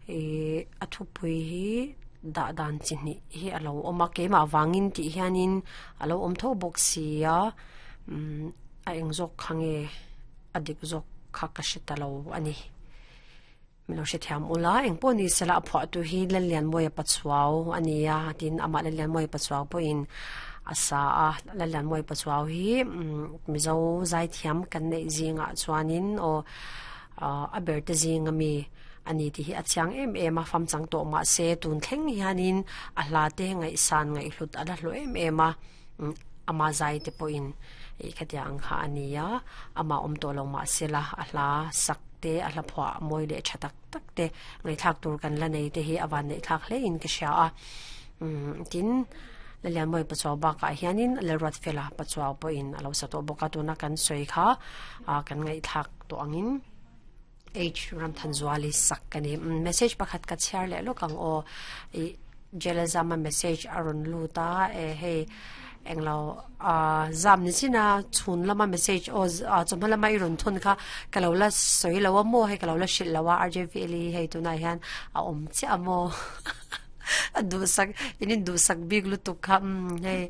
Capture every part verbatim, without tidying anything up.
E a thupui hi dah dan chi hnih hi alo awm a keimah vangin tih hianin alo awm tho bawk sia umm a eng zawk kha nge a dik zawk kha ka hre ta lo ani milo hre thiam ula eng pawh ni sela a phuah tu hi Lallianmawia Pachuau ania tin amah Lallianmawia Pachuau pawhin a sa a Lallianmawia Pachuau hi Mizo zai thiam kan neih zingah chuanin aw a ber te zing ami ani ti hi a chiang em em a fam chang tawh mah se tun thleng hianin a hla te ngaihsan ngaihhlut a la hlu em em a ama zai te pawhin ih khatia ang kha ania ama awm tawh lo mah sela a hla sak te a hla phuah mawi leh tha tak tak te ngaihthlak tur kan la nei te hi a van neih thlak hle in ka hria a umm tin Lallianmawia Pachuau bakah hianin Lalruatfela Pachuau pawhin a lo sa tawh bawk a tuna kan sawi kha ah kan ngaihthlak tawh angin H Ramthanzuali sak ka ni message pakhat ka chhiar leh lawk ang aw ih Jelazama message a rawn lut a e hei englo ah zam ni chin a chhun lama message aw ah chawhma lama i rawn thun kha ka lo la sawi lo a maw hei ka lo la hrilh lo a R J V L E hei tunah hian a awm chiah a maw a duhsak in in duhsak bik lutuk kha umm hei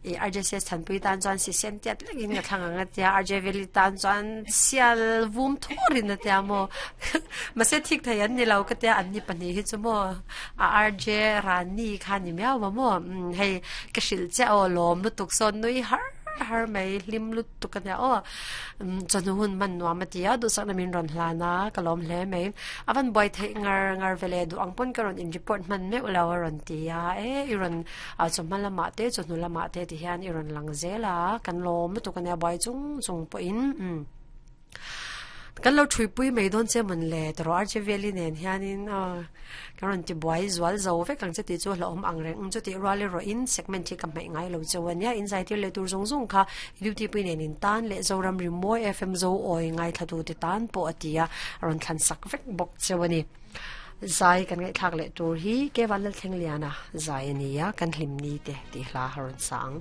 ih R J C S Thanpui tan chuan si sen tiat lekin ka thlang ang a tia R J V L E tan chuan sial vum thurin a tia maw mahse thik thei an ni lo ka tia an ni pahnih hi chu maw a R J Rani kha ni miau ma maw umm hei ka hrilh chiah aw lawm lutuk sawn nui har har mai hlim lutuk a nia aw umm chawhnu hun hman nuam a ti a duhsakna min rawn hlan a ka lawm hle mai a van buai theih ngar ngar ve leh duh ang pawn ka rawn in report hman meuh lo a rawn ti a e i rawn ah chawhma lamah te chawhnu lamah te ti hian i rawn lang zel a kan lawm lutuk a nia buai chung chung pawhin umm kan lo thuipui mai dawn che mawn le tawrh R J Valley nen hianin aw kan rawn ti buai zual zo vek ang che tih chu hlauhawm ang reng ang chu tih rual erawhin segment hi ka hmaih ngai lo cheu ania inzaitir leh tur zawng zawng kha duty pui nen in tan leh Zoram Rimawi F M Zo awi ngaithla tu te tan pawh a ti a a rawn thlan sak vek bawk cheu a ni zai kan ngaihthlak leh tur hi Kevan Lalthlengliana zai a ni a kan hlim ni te tih hla a rawn sa ang.